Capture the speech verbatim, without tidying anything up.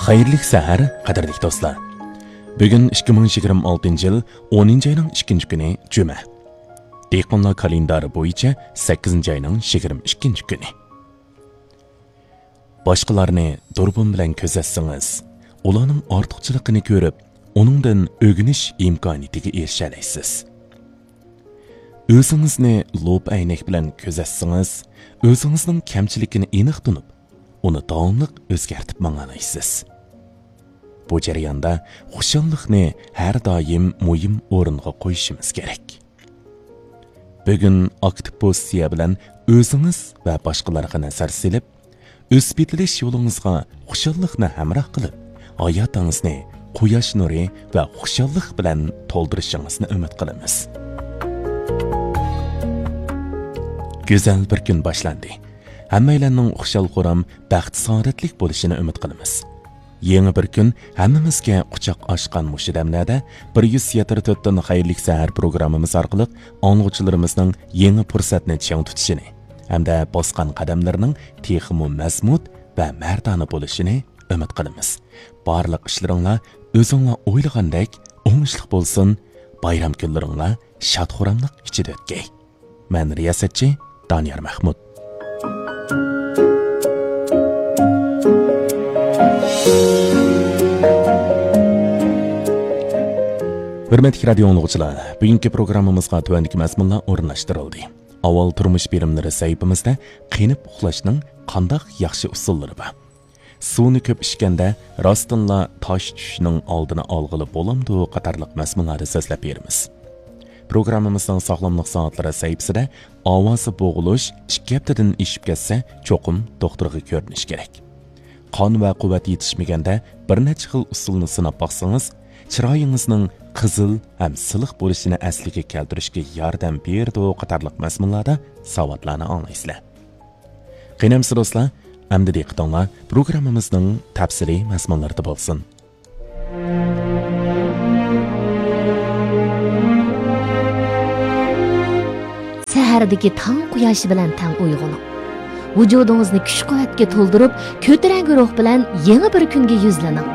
خەيرلىك سەھەر، قەدىرلىك دوستلار. بۈگۈن ئىككى مىڭ يىگىرمە ئالتىنچى يىل ئونىنچى ئاينىڭ ئىككىنچى كۈنى، جۈمە. دېھقانلار كالېندارى بويىچە سەككىزىنچى ئاينىڭ يىگىرمە ئىككىنچى كۈنى. باشقىلارنى دۇربۇن بىلەن كۆزەتسىڭىز، ئۇلارنىڭ ئارتۇقچىلىقىنى كۆرۈپ، ئۇنىڭدىن ئۆگىنىش ئىمكانىيىتىگە ئېرىشەلەيسىز. ئۆزىڭىزنى لوپ ئەينەك بىلەن كۆزەتسىڭىز، ئۆزىڭىزنىڭ كەمچىلىكىنى ئېنىق تونۇپ، ئۇنى داۋاملىق ئۆزگەرتىپ ماڭالايسىز. بۇ جەرياندا خۇشاللىقنى ھەر دائىم مۇھىم ئورۇنغا قويۇشىمىز كېرەك. بۈگۈن ئاكتىپ پوزىتسىيە بىلەن ئۆزىڭىز ۋە باشقىلارغا نەزەر سېلىپ، ئۆسۈپ يېتىلىش يولىڭىزغا خۇشاللىقنى ھەمراھ قىلىپ، ھاياتىڭىزنى قۇياش نۇرى ۋە خۇشاللىق بىلەن تولدۇرۇشىڭىزنى ئۈمىد قىلىمىز. گۈزەل بىر كۈن باشلاندى. ھەممەيلەننىڭ خۇشال-خۇرام، بەخت-سائادەتلىك بولۇشىنى ئۈمىد قىلىمىز. يېڭى بىر كۈن ھەممىمىزگە قۇچاق ئاچقان مۇشۇ دەملەردە بىر يۈز يەتتە تۆتتىن خەيرلىك سەھەر پروگراممىمىز ئارقىلىق ئاڭلىغۇچىلىرىمىزنىڭ يېڭى پۇرسەتنى چىڭ تۇتۇشىنى ھەمدە باسقان قەدەملىرىنىڭ تېخىمۇ مەزمۇت ۋە مەردانە بولۇشىنى ئۈمىد قىلىمىز. بارلىق ئىشلىرىڭلار ئۆزۈڭلار ئويلىغاندەك ئوڭۇشلۇق بولسۇن. بايرام كۈنلىرىڭلار شاد-خۇراملىق ئىچىدە ئۆتكەي. مەن رىياسەتچى دانىيار مەھمۇت. ھۆرمەتلىك رادىيو ئاڭلىغۇچىلار، بۈگۈنكى پروگراممىمىزغا تۆۋەندىكى مەزمۇنلار ئورۇنلاشتۇرۇلدى. ئاۋۋال تۇرمۇش بېرىملىرى سەھىپىمىزدە قېنىپ ئۇخلاشنىڭ قانداق ياخشى ئۇسۇللىرى بار؟ سۇنى كۆپ ئىچكەندە راستتىنلا تاش چۈشۈشنىڭ ئالدىنى ئالغىلى بولامدۇ؟ قاتارلىق مەزمۇنلاردا سۆزلەپ بېرىمىز. پروگراممىمىزنىڭ ساغلاملىق سائەتلىرى سەھىپىسىدە ئاۋازى بوغۇلۇش ئىككى ھەپتىدىن ئېشىپ كەتسە، چوقۇم دوختۇرغا كۆرۈنۈش كېرەك. قان ۋە قۇۋۋەت يېتىشمىگەندە بىر نەچچە خىل ئۇسۇلنى سىناپ باقسىڭىز، چىرايىڭىزنىڭ قىزىل ھەم سىلىق بولۇشىنى ئەسلىگە كەلتۈرۈشكە ياردەم بېرىدۇ قاتارلىق مەزمۇنلاردا ساۋاتلارنى ئاڭلايسىلەر. قېنى ئەمىسە دوستلار، ئەمدى دىققىتىڭلار پروگراممىمىزنىڭ تەپسىلىي مەزمۇنلىرىدا بولسۇن. سەھەردىكى تاڭ قۇياشى بىلەن تەڭ ئويغىنىڭ. ۋۇجۇدىڭىزنى كۈچ-قۇۋۋەتكە تولدۇرۇپ، كۆتۈرەڭگۈ روھ بىلەن يېڭى بىر كۈنگە يۈزلىنىڭ.